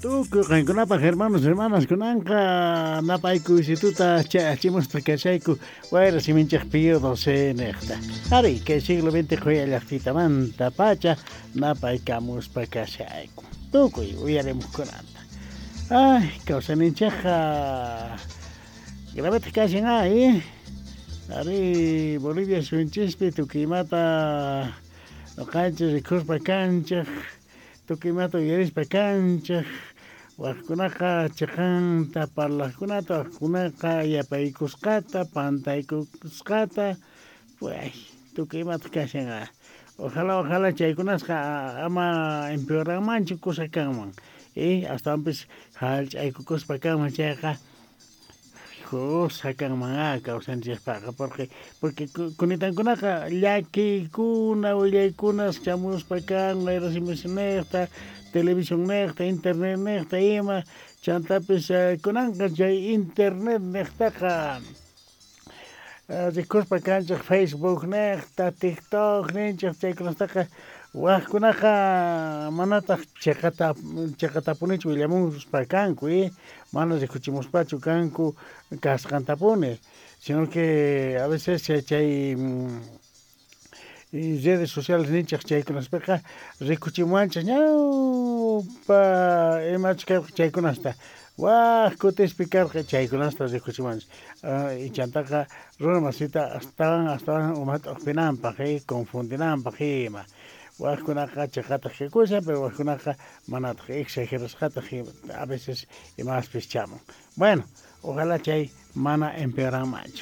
Tukuy qankunapaq, hermanos, hermanas, kunanqa napaykuysituta chayachimuspa kashayku wayra siminchej Pío XII nejta. Ari, kay siglo XX qhuya llajtitamanta pacha napaykamuspa kashayku. Tukuy uyarimuqkunata. Ay, kawsayninchejqa gravetaq kashan, ay. Ari, Bolivia suyunchispi tukuy imata noqanchis rikuspa kanchej, tukuy imata uyarispa kanchej, wajkunaqa cheqanta parlajkunata, wajkunaqa yapaykusqata, pantaykusqata, ay, tukuy imata kashan. Ojalá, ojalá chaykunasqa ama empeoranmanchu kusa kanman. Y astawanpis jallch'aykukuspa kanman chayqa kusa kanman kawsanchikpaqqa, porque kunitankunaqa llakiykuna, willaykunas chamuspa kan wayra televisión nejta, internet nejta ima, chantapis kunanqa chay internet nejtaqa rikuspa kanchej Facebook nejta, TikTok ninchej, chaykunastaqa wajkunaqa manataq cheqata cheqatapunichu willamuspa kanku, mana rikuchimuspachu kanku kasqantapuni, sino que a veces chay redes sociales ninchej chaykunaspiqa rikuchimuwanchej ñawpa imachus karqa chaykunasta, waj kutispi karqa chaykunasta rikuchimuwanchej, chantaqa runa masita astawan astawan umata uqpinanpaq, confundinanpaq ima. Wajkunaqa cheqataq kakushan, pero wajkunaqa manataq, exagerasqataq a veces imaspis chamun. Bueno, ojalá chay mana empeoranmanchu.